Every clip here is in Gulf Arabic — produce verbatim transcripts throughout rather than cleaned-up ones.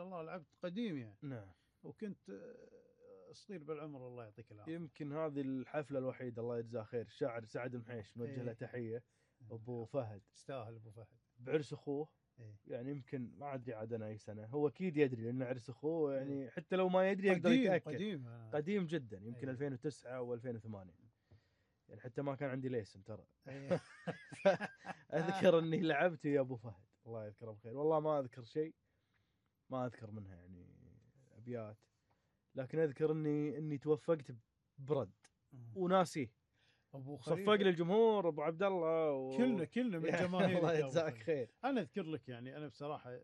شاء الله لعبت قديم يعني. نعم. وكنت صغير بالعمر الله يعطيك العافية. يمكن هذه الحفلة الوحيدة الله يجزاه خير الشاعر سعد المحيش نوجه له إيه. تحية. أبو فهد يستاهل أبو فهد بعرس أخوه. إيه. يعني يمكن ما أدري عاد أنا أي سنة، هو أكيد يدري لأن عرس أخوه يعني إيه. حتى لو ما يدري يقدر قديم يتأكد. قديم قديم جدا يمكن إيه. ألفين وتسعة أو ألفين وثمانية يعني حتى ما كان عندي ليسن ترى. إيه. أذكر أني لعبت يا أبو فهد الله يذكره بخير، والله ما أذكر شيء ما أذكر منها يعني أبيات، لكن أذكر أني أني توفقت برد وناسيه. ابو خليفه صفق للجمهور ابو عبد الله و... كلنا كلنا من جماهير الله يجزاك خير. انا اذكر لك يعني انا بصراحه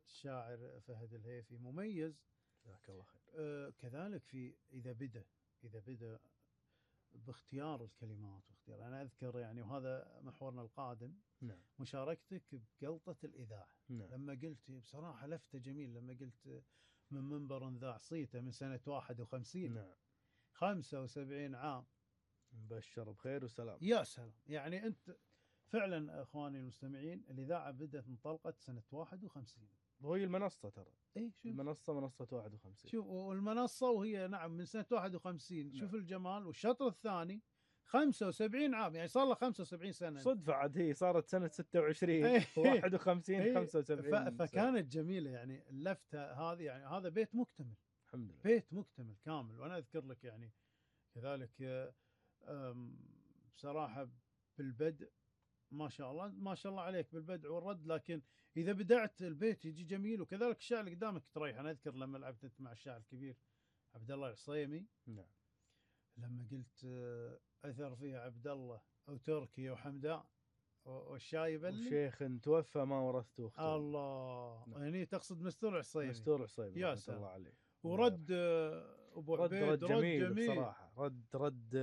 الشاعر فهد الهيفي مميز جزاك الله خير. آه كذلك في اذا بدا اذا بدا باختيار الكلمات واختيار. انا اذكر يعني وهذا محورنا القادم. نعم. مشاركتك بقلطه الاذاعه. نعم. لما قلت بصراحه لفته جميل لما قلت من منبر ذاع صيته من سنه واحد وخمسين. نعم. خمسة وسبعين عام مبشر بخير وسلام. يا سلام. يعني أنت فعلا أخواني المستمعين الإذاعة بدأت انطلقت سنة واحد وخمسين وهي المنصة ترى. إيه شوف المنصة منصة واحد وخمسين. شوف والمنصة وهي نعم من سنة واحد وخمسين. نعم. شوف الجمال. والشطر الثاني خمسة وسبعين عام يعني صار له خمسة وسبعين سنة. صدفة عاد هي صارت سنة ستة وعشرين واحد وخمسين خمسة وسبعين. فكانت جميلة يعني اللفتة هذه. يعني هذا بيت مكتمل الحمد لله. بيت مكتمل كامل. وأنا أذكر لك يعني كذلك بصراحة بالبدء ما شاء الله ما شاء الله عليك بالبدء والرد. لكن إذا بدأت البيت يجي جميل. وكذلك الشاعر اللي قدامك تريح. أنا أذكر لما لعبت أنت مع الشاعر الكبير عبد الله العصيمي. نعم. لما قلت أثر فيها عبد الله أو تركي وحمدان والشايب اللي وشيخ توفى ما ورثته اختار. الله. نعم. يعني تقصد مستور العصيمي. مستور العصيمي يا رحمة الله عليه. ورد أبو رد عبيد رد جميل, رد جميل بصراحة. رد رد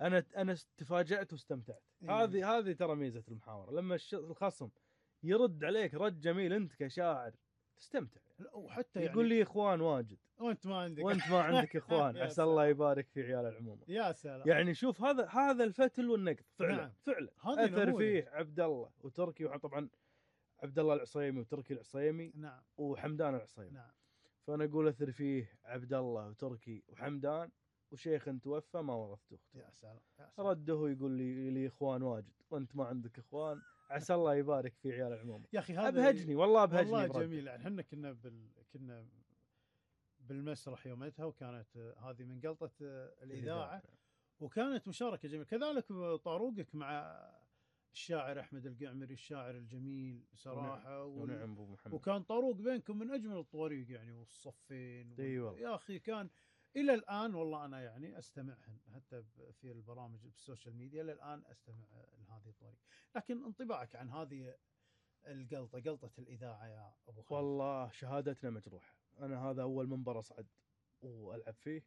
أنا أنا تفاجأت واستمتعت. إيه. هذه هذه ترى ميزة المحاورة لما الخصم يرد عليك رد جميل أنت كشاعر تستمتع. وحتى يقول يعني لي إخوان واجد وأنت ما عندك وأنت ما عندك إخوان عسى الله يبارك في عيال العموم. يا سلام. يعني شوف هذا هذا الفتل والنقد فعلا. نعم. فعلا أثر فيه عبد الله وتركي وطبعا عبد الله العصيمي وتركي العصيمي. نعم. وحمدان العصيمي. نعم. فأنا أقول أثر فيه عبد الله وتركي وحمدان وشيخ توفى ما ورثته اختي. يا سلام. يا سلام. رده يقول لي لي إخوان واجد وأنت ما عندك إخوان عسى الله يبارك في عيال العموم. يا أخي هذا أبهجني والله أبهجني. والله جميل. يعني احنا كنا بال... كنا بالمسرح يومتها وكانت هذه من قلطة الإذاعة وكانت مشاركة جميلة. كذلك طاروقك مع الشاعر أحمد القعمري الشاعر الجميل صراحة. ونعم أبو محمد. وكان طاروق بينكم من أجمل الطواريق يعني والصفين. أيوة. يا أخي كان إلى الآن والله أنا يعني أستمعهن حتى في البرامج بالسوشيال ميديا. إلى الآن أستمع لهذه الطواريق. لكن انطباعك عن هذه القلطة قلطة الإذاعة يا أبو خالد؟ والله شهادتنا مجروحة. أنا هذا أول منبر أصعد وألعب فيه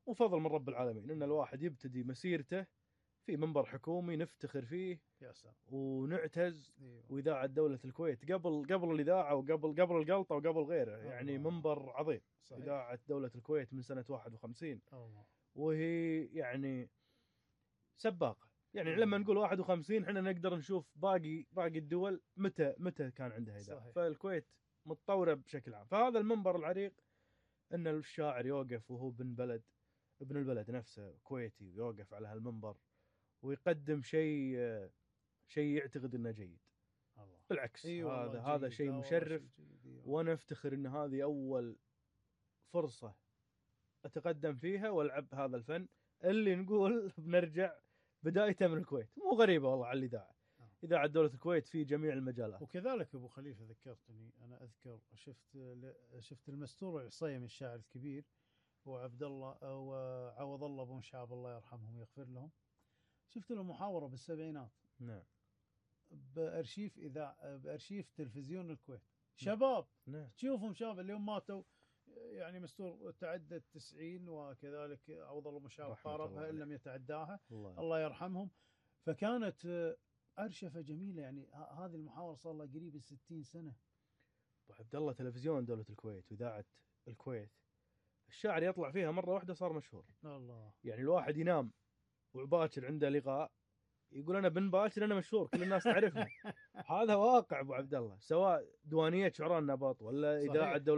وفضل من رب العالمين إن الواحد يبتدي مسيرته في منبر حكومي نفتخر فيه. يا سلام. ونعتز. أيوة. وإذاعة دولة الكويت قبل قبل الإذاعة وقبل قبل القلطة وقبل غيره. يعني الله. منبر عظيم. صحيح. إذاعة دولة الكويت من سنة واحد وخمسين. الله. وهي يعني سباقة. يعني لما نقول واحد وخمسين احنا نقدر نشوف باقي باقي الدول متى متى كان عندها إذاعة. فالكويت متطورة بشكل عام. فهذا المنبر العريق ان الشاعر يوقف وهو ابن بلد ابن البلد نفسه كويتي ويوقف على هالمنبر ويقدم شيء شيء يعتقد انه جيد. الله. بالعكس. أيوة هذا هذا شيء مشرف. وانا افتخر ان هذه اول فرصة اتقدم فيها والعب هذا الفن اللي نقول بنرجع بدايته من الكويت. مو غريبة والله على الإذاعة. إذاعة دولة الكويت في جميع المجالات. وكذلك أبو خليفة ذكرتني أنا أذكر شفت شفت المستور العصيمي الشاعر الكبير وعبد الله وعوض الله بن شعب الله يرحمهم ويغفر لهم. شفت له محاورة بالسبعينات. نعم. بأرشيف إذاعة بأرشيف تلفزيون الكويت. شباب. نعم. تشوفهم شباب اليوم ماتوا يعني مستور تعدى التسعين وكذلك عوض الله بن شعب قاربها إن لم يتعداها. الله. الله يرحمهم. فكانت أرشفة جميلة يعني. هذه المحاورة صار لها قريب الستين سنة. أبو عبد الله تلفزيون دولة الكويت وإذاعة الكويت الشاعر يطلع فيها مرة واحدة صار مشهور. الله. يعني الواحد ينام وباكر عنده لقاء يقول أنا بن باكر أنا مشهور كل الناس تعرفني. هذا واقع أبو عبد الله سواء دوانية شعراء النبط ولا إذاعة دولة